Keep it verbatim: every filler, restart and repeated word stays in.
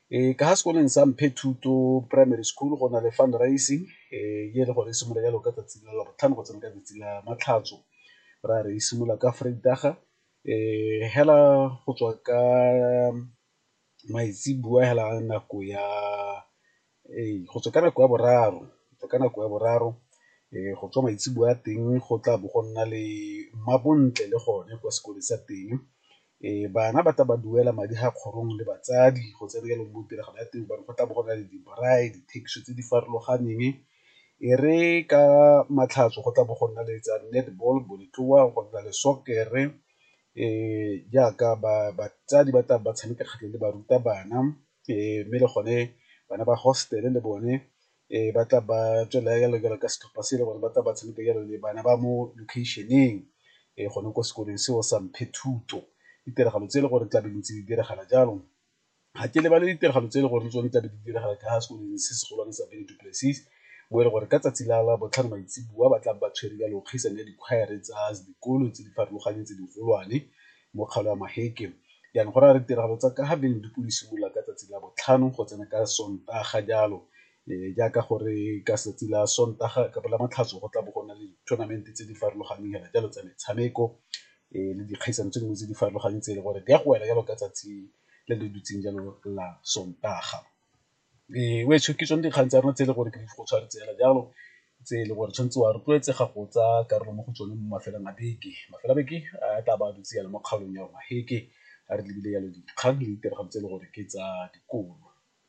Ka fa sekolong sa Mphethuto Primary School go na le fundraising e le gore e simolola jalo ka tsatsi la labotlhano go tsena ka tsatsi la matlhatso, go raya re e simolola ka Vrydag-a fela go tswa ka maitseboa fela nako ya, ee go tswa ka nako ya boraro, go tswa ka nako ya boraro go tswa maitseboa a teng go tla bo go nna le mmabontle le gone kwa sekolong sa teng. Bana ba tla ba duela madi ga kgorong le batsadi go tsena jalo mo tiragalo ya teng go tla bo go na le di-braai, dithekiso tse di farologaneng. E re ka Matlhatso go tla bo go nna le tsa netball, bolotloa, go nna le soccer-e jaaka batsadi ba tla ba tshameka kgatlhanong le barutabana mme le gone bana ba hostel-e le bone ba tla ba tswelela jalo ka setlhopha se e le gore ba tla ba tshameka jalo le bana ba mo location-eng gone ko sekolong seo sa Mphethuto. Ditiragalo tse e le gore tla be ntse di diragala jalo, ga ke lebale ditiragalo tse e le gore le tsone tlabe di diragala ka fa sekolong se se golwane sa Benny Du Plessis mo e leng gore ka tsatsi la labotlhano maitseboa ba tla ba tshwere jalo kgaisano ya dikhwaere tsa dikolo tse di farologaneng tse di golwane mo kgaolo ya Maheke. Jaanong go raya gore ditiragalo tsa ka ga Benny di simolola ka tsatsi la botlhano go tsena ka Sontaga jalo jaaka gore ka 'tsatsi la Sontaga kapa Lamatlhatso go tla bo go na le di-tournament-e tse di farologaneng fela jalo tsa metshameko le dikgaisano tse dingwe tse di farologaneng tse e leng gore di a go wela jalo ka tsatsi le le dutseng jalo la Sontaga. Wetsho ke tsone dikgang tsa rona tse e leng gore ke di go tshwanetse fela jalo tse e leng gore tshwanetse wa rotloetsega go tsaya karolo mo go tsone mo mafelong a beke. Mafelo a beke a tla ba dutse jalo mo kgaolong ya Maheke a re lebile jalo dikgang le ditiragalo tse e leng gore ke tsa dikolo.